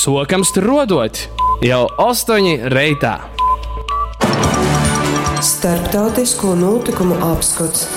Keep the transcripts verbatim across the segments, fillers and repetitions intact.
Sokam struodot jau ostoņi reitā. Starptautisko notikumu apskots.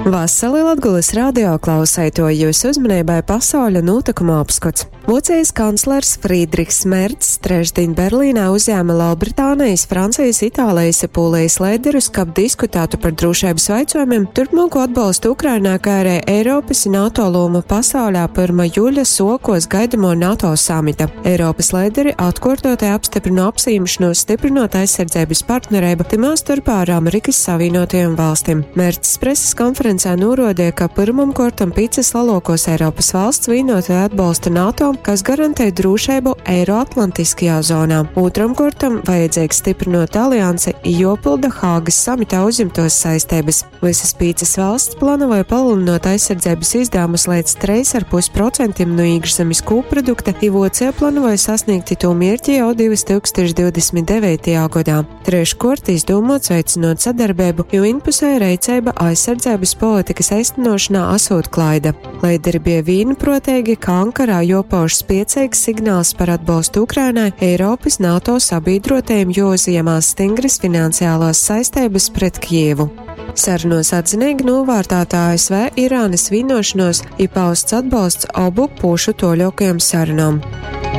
Vasali Latgulas radio klauseitoji, jūsu uzmanībai pasauļa notikumu apskots. Vocijas kanclers Frīdrihs Mercs trešdiņ Berlīnā uzņēma Lielbritānijas, Francijas, Itālijas i Pūlijas leiderus, kab diskutētu par drošības jautājumiem, turpmāko atbalstu Ukrainā, kā arī Eiropas i NATO lomu pasaulē pyrma juļa sokos gaidamo NATO samita. Eiropas leideri atkuortotai apstiprina apsījimšanos stiprinot aizsardzības partnerību, tymā storpā ar Amerikas Savienotajām valstīm. Mercs preses konferencē norādīja, ka pyrmam kortam pīcas lielākos Eiropas valsts vienotai atbalsta NATO, kas garantē drošību Eiroatlantiskajā zonā. Otram kortam vajadzīgs stiprinot aliansi, jopilda Hāgas samitā uzņemtos saistības. Visas pīcas valsts plānoja palielinot aizsardzības izdevumus līdz trīs ar pus procentiem no iekšzemes kūpprodukta, i Vocija plānoja sasniegt to mērķi jau divtūkstoš divdesmit devītajā gadā. Treškort izdūmots veicinot sadarbību, jo vienpusēja reiceiba aizsardzības politikas eistenošanā asūt klaida. Leideri bija vīnprotīgi, ka Ankarā jopauž spiecīgs signāls par atbalstu Ukrainai, Eiropas NATO sabiedrotajiem jouzjemās stingras finansiālās saistības pret Kijevu. Sarunos atzinīgi novērtēta A S V Irānas vienošanos i pausts atbalsts obu pušu toļokajam sarunām.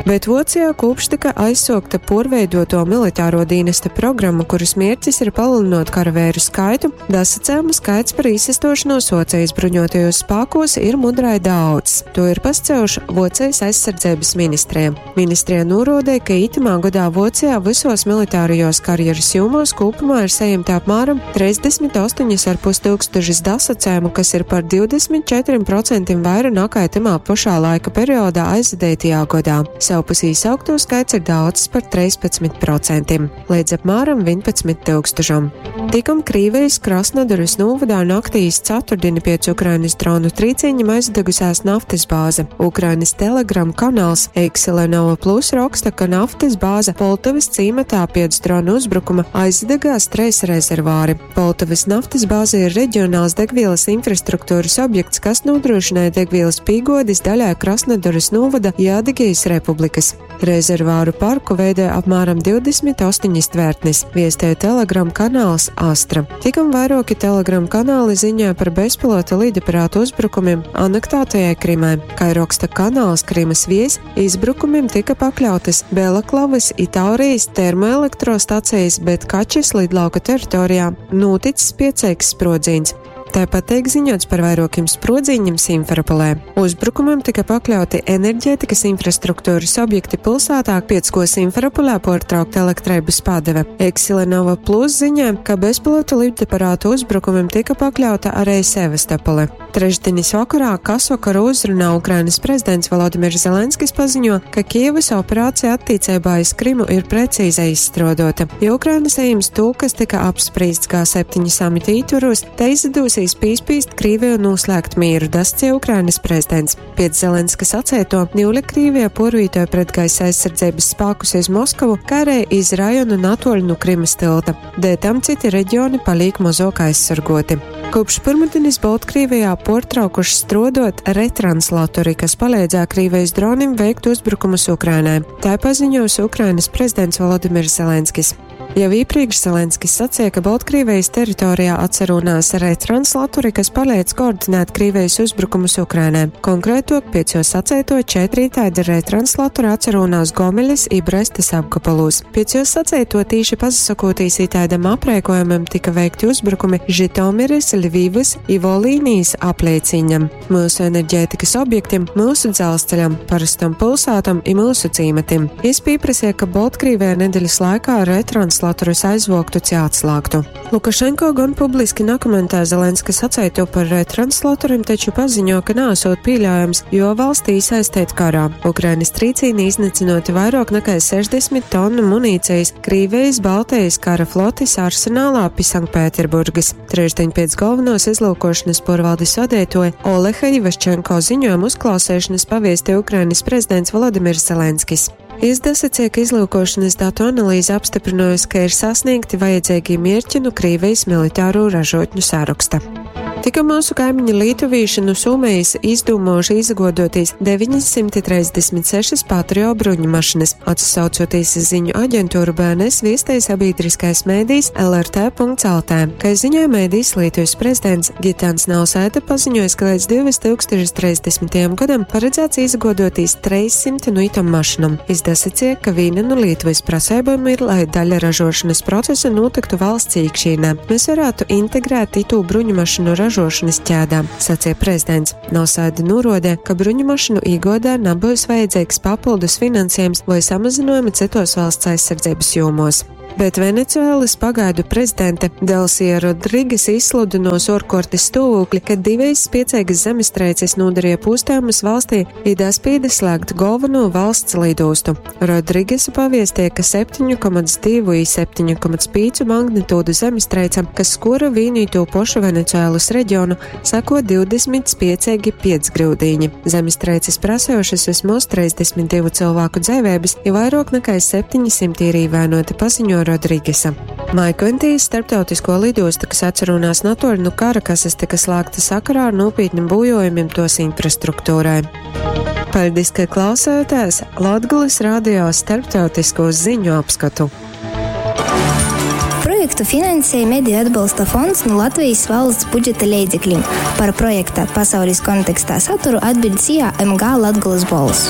Bet Vocijā kopš tika aizsokta porveidoto militāro dienesta programma, kuras mērķis ir palielinot karavēru skaitu, dasacējumu skaits par īsastošanos Vocijas bruņotajos spēkos ir mudrai daudz. To ir pascējuši Vocijas aizsardzības ministrija. Ministrija norādīja, ka itamā gadā Vocijā visos militārajos karjeras jomos kopumā ir saņemta apmēram trīsdesmit astoņi ar pus tūkstošus dasacējumu, kas ir par divdesmit četriem procentiem vairāk nekā tamā pašā laika periodā aizvadītajā gadā. Savpus īsaukto skaits ir daudz par trīspadsmit procentiem, līdz apmēram vienpadsmit tūkstošam. Tikom Krīvijas Krasnodaras novadā naktī iz ceturtdienu pēc Ukrainas dronu trīcīņiem aizdegusies naftas bāze. Ukrainas Telegram kanāls Eiksilenova Plus raksta, ka naftas bāze Poltavas cīmatā pēc dronu uzbrukuma aizdegās treis rezervāri. Poltavas naftas bāze ir reģionāls degvielas infrastruktūras objekts, kas nodrošināja degvielas pīgodis daļai Krasnodaras novada Jādigijas republikas. Rezervāru parku veidoja apmēram divdesmit astoņas tvērtnes, viestēja Telegram kanāls Astra. Tikom vairāki Telegram kanāli ziņoja par bezpilota lidaparātu uzbrukumiem anektētajai Krimai. Kā raksta kanāls Krimas vies, izbrukumiem tika pakļautas Belaklavas i Taurijas termoelektrostacijas, bet Kačes lidlauka teritorijā noticis spiecīgs sprodziens. Tāpat tiek ziņots par vairākiem sprodziņiem Simferopolē. Uzbrukumam tika pakļauti enerģētikas infrastruktūras objekti pilsētā, piec ko Simferopolē portraukta elektrības padeve. Eksilenova Plus ziņā, ka bezpilota lidaparātu uzbrukumam tika pakļauta arī Sevastopole. Trešdienas vakarā kasvakara uzrunā Ukrainas prezidents Volodimirs Zelenskis paziņo, ka Kijevas operācija attiecībā iz Krimu ir precīzi izstrādota. Ja Ukraina saņems to, kas tika apspriests G septiņi samita ietvaros, te izdosies pīspīst Krīviju noslēgt mieru, dascie Ukrainas prezidents. Pēc Zelenska sacēto, Ņūle Krīvija porvītoja pret gaisa aizsardzības spēkus iz Moskavu, kā arī iz rajonu natoļu no Krimas tilta. Dēļ tam citi reģioni paliek mazāk aizsargoti. Kopš pirmdienas Baltkrievijā portraukuši strodot retranslatori, kas palīdzēja Krievijas dronim veikt uzbrukumus Ukrainai. Tā paziņojusi Ukrainas prezidents Volodimirs Zelenskis. Jau iepriekš Zelenskis sacīja, ka Baltkrievijas teritorijā atcerunās retranslatori, kas palīdz koordinēt Krievijas uzbrukumus Ukrainai. Konkrētāk, pēc jo sacēto četri tādi retranslatori atcerunās Gomeļas i Brestas apgabalos. Pēc jo sacēto tīši pasakotīs itādam aprēkojumam tika veikti uzbrukumi Žitomiras, Ļvivas i Volīnijas aplieciņam, mūsu enerģētikas objektiem, mūsu dzelzceļam, parastam pilsētam i mūsu cīmatim. Jis pieprasīja, ka Baltkrievijā nedēļas laikā retranslatorus aizvoktu ci atslāgtu. Lukašenko gan publiski nekomentē Zelenska sacēto par retranslatoriem, taču paziņo, ka nāsot pieļaujams, jo valstī iesaistīt karā. Ukrainas trīcīni iznīcinoti vairāk nekā sešdesmit tonu munīcijas Krīvijas Baltijas kara flotis arsenālā pi Sanktpēterburgas. Trešdien pēc galvenos izlūkošanas porvaldes vadītoja Oleha Ivaščenko ziņojuma uzklausīšanas paviesti Ukrainas prezidents Volodimirs Zelenskis. Izdasacīja, ka izlūkošanas datu analīze apstiprinājusi, ka ir sasniegti vajadzīgie mērķi no Krīvijas militāro ražotņu saraksta. Tikko mūsu kaimiņi lietuvīši nu Somijas izdūmojuši izagodotīs deviņsimt trīsdesmit sešas Patrio bruņu mašinas. Atsaucoties uz ziņu aģentūru B N S viestēja sabiedriskais mēdījis L R T punkts L T. Kā ziņoja mēdījis, Lietuvas prezidents Gitans Nausēda paziņoja, ka līdz divtūkstoš trīsdesmitajam gadam paredzēts izagodotīs trīssimt nu itam mašinam. Izdasacīja, ka viena no Lietuvas prasībām ir, lai daļa ražošanas procesa notiktu valsts iekšienē. Mēs varētu integrēt itu bruņu mašinu ražošanas ķēdā, sacīja prezidents. Nausēda norādīja, ka bruņu mašinu īgodā nebūs vajadzīgs papildus finansējums vai samazinājumi citos valsts aizsardzības jomos. Bet Venecuēlas pagaidu prezidente Delsija Rodriges izsludinos orkortes stāvokli, kad divas spiecīgas zemestrīces nodarīja pūstējumus valstī, ir daspīda slēgt galveno valsts lidostu. Rodrigesa paviestīja, ka septiņu komats divu i septiņu komats pīcu magnitūdu zemestrīce, kas skora vienīto pošu Venecuēlas reģionu, sako divdesmit spiecīgi piecgrūdīņi. Zemestrīces prasējušas vismaz trīsdesmit divu cilvēku dzīvības, ja vairāk nekā septiņsimt ir īvainoti, paziņo Rodrigesa. Maikventijas starptautisko lidostu, kas atcerunās natoļu nu Karakasas, tika slēgta sakarā ar nopietniem bojojumiem tos infrastruktūrai. Paldies, ka klausāties Latgulas radio starptautisko ziņu apskatu. Projektu finansēja Mediju atbalsta fonds no Latvijas valsts budžeta līdzekļiem. Par projekta pasaules kontekstā saturu atbild S I A M G Latgulas bols.